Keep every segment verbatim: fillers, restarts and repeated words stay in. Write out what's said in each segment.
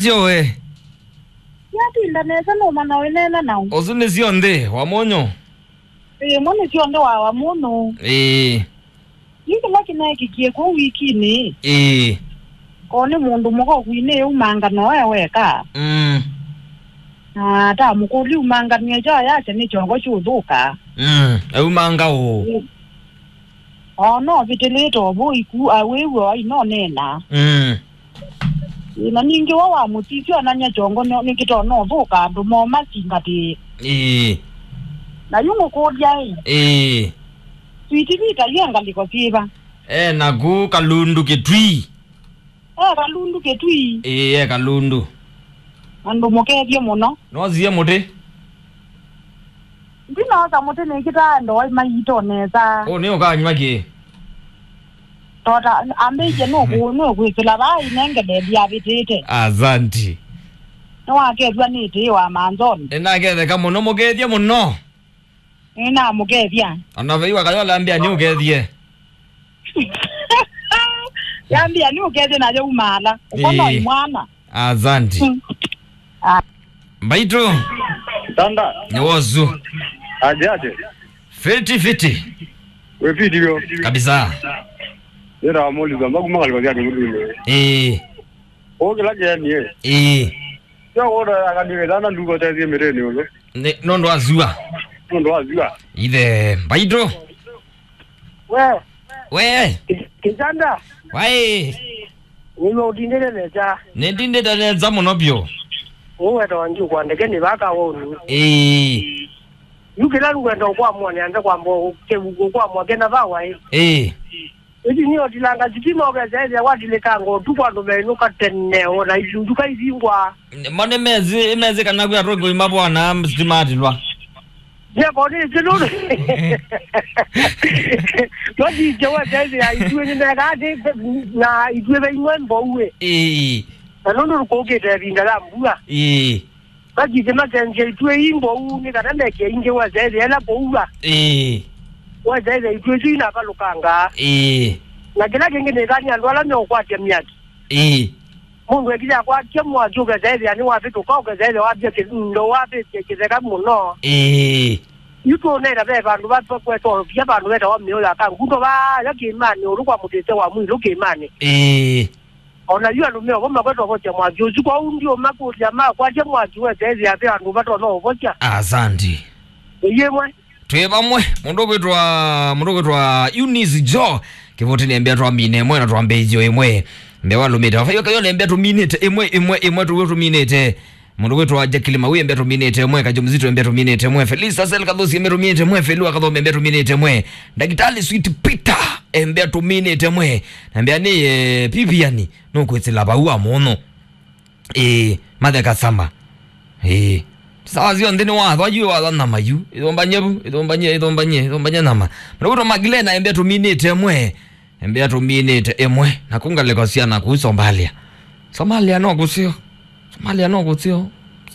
Syo we. Yatinda nesa no mana wenena nao. Osu nĩ syonthe wa monyo. Ĩĩ, mo nĩ syonthe wa wa mũno. Ĩĩ. Yu kĩla kĩneekikie kũu wikinĩ. Ĩĩ. Ko nĩ mũndũ mũka ũkwinĩ umangano e weka. Mm. Na ta mũkũli umanganie kyo yake nĩ kyongo kyũthũka. Mm. Aumanga ũũ. Ĩĩ. O no vitĩlĩte ovu iku awĩw'o ainonena. Mm. Ĩĩ, na ningĩ wa wa mũsisyo ananya kyongo nĩ kĩtona ũthũka andũ moo masingatĩe. Ĩĩ. Na yu ngũkũlya ĩ. Ĩĩ. Sweet Vita yu e ngalĩko syĩva? E naku Kalundu Kĩtui. E Kalundu Kĩtui. Ĩĩ, e Kalundu. Andũ mũkethye mũno. Nosie mũtĩ? Ndinosa mũtĩ nĩkĩtaa ndoa maito nesa. Ũ nĩ ũkanywa kĩ? Tota ambĩie nũkũ nũkwĩsĩla vaa inengele ndiavĩtĩte. Asanti. Nĩwakethwa nĩ tĩĩ wa manzoni. Nĩnaketheka mũno, mũkethye mũno. Nĩnamũkethya. Ona vei wakayola ambĩa nĩ ũkethie. Yambĩa nĩ ũkethye nayo umaala. Ũkono Ĩĩ. Imwana. Asanti. Mm. Ah. Mbaitũ. Tanda. Nĩ wosu. Aje aje. Fiti fiti. We fiti yo. Kabisa. Nĩra mũliza mbaku makalwa ya kĩmutuni. Ĩĩ. O kĩla kĩanie. Ĩĩ. Yo wona akanire dana nduko tezi mĩtĩnĩ ũlũ. Nĩ nũndũ wa zua. Nũndũ wa zua. Ithe Mbaitũ. We. We. Ki- Kijanda. Waĩ. Nĩwe ũtindĩte nesa. Nĩtindĩte nesa mũno biũ. Ũweta wangi ũkwandĩke nĩ vaka wonu. Ĩĩ. Yu kĩla ngwenda ũkwamũa nĩ anze kwamba ũkwamũa kena vawa ĩ. Ĩĩ. Ĩti nĩ otilanga sitima ũkesa ĩthĩa watilĩkanga ũtukũ andũ menũka tene ona itunduka ivingwa. Mone mezi mezi kana kwĩ atongo imabwana sitima atilwa. Nĩkonĩtye nũndũ. Twathiĩte weteethĩa ituĩ nĩmekaa atĩ na ituĩ veimwe mbouĩ. Ĩĩ. Na nũndũ kũkĩte ĩvinda ya mbua. Ĩĩ. Mathiĩte makenzia ituĩ ii mbou nĩ kana meke ingĩ weteethĩa ĩla kũua. Ĩĩ. Weteethĩa ituĩ isu inavalũkangaa. Ĩĩ. Na kĩla kĩngĩ nĩkani andũ ala meũkwatya myaki. Ĩĩ. Mũndũ ekile akwatya mwaki ũkesa ĩthĩa nĩwavĩtũka ũkesa ĩthĩa wavya kĩndo wavĩtye kĩtheka mũno. Ĩĩ. Yu tũnena ve vandũ vakwetwa via vandũ vetawa mĩo ya kangundo vaya kĩĩmanĩ ũlũ kwa mũtĩte wa mwilũ kĩĩmanĩ. Ĩĩ. Ona yu andũ meovo makwetwa vosya mwaki ũsu kwoou ndiũmakũlya makwatya mwaki wesa ĩthĩa ve andũ vatonya ũvosya. Asanti. Ĩyĩmwe. Twĩ vamwe, mũndũ kwĩtwa mũndũ kwĩtwa Eunice Joe kĩvũtĩnĩ embea twamine ĩmwe na twambĩĩthyo ĩmwe. Mbea walũmĩte vavaiwa kayo nembea tũminĩte ĩmwe ĩmwe ĩmwe tũwĩ tũminĩte. Mũndũ kwĩtwa Jacqueline Mawi embea tũminĩte ĩmwe, Kajo Mzito embea tũminĩte ĩmwe, Felista Sel Kathosi embea tũminĩte ĩmwe, Felu Akathome embea tũminĩte ĩmwe, Ndagitali Sweet Peter embea tũminĩte ĩmwe. Na mbea nĩ eh, Vivian nũkwĩsĩla vau wa mũno. Ĩĩ, matheka sama. Ĩĩ. Sawa syonthe nĩ watho, ayu watho nyama yu. Ĩthumbany'e vu, ĩthumbany'e, ĩthumbany'e, ĩthumbany'e nyama. Mũndũ kwĩtwa Magdalena embea tũminĩte ĩmwe. Embea tũminĩte ĩmwe. Na kũngalĩko syana kũu Somalia. Somalia no kũseo. Somalia no kũseo.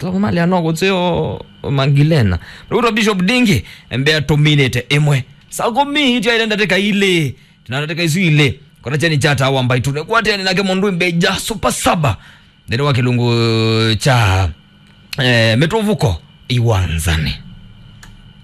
Somalia no kũseo Magdalena. Mũndũ kwĩtwa Bishop Dingi embea tũminĩte ĩmwe. Saa kũmi ityaĩle ndatĩka ilĩ. Tina ndatĩka isu ilĩ. Kona cheni chata wa mbaitũ. Nĩkwatene nake mũndũ mbeja Super Saba. Nthĩnĩ wa kĩlungu kya eh, mĩtũvũko iwanzanĩ.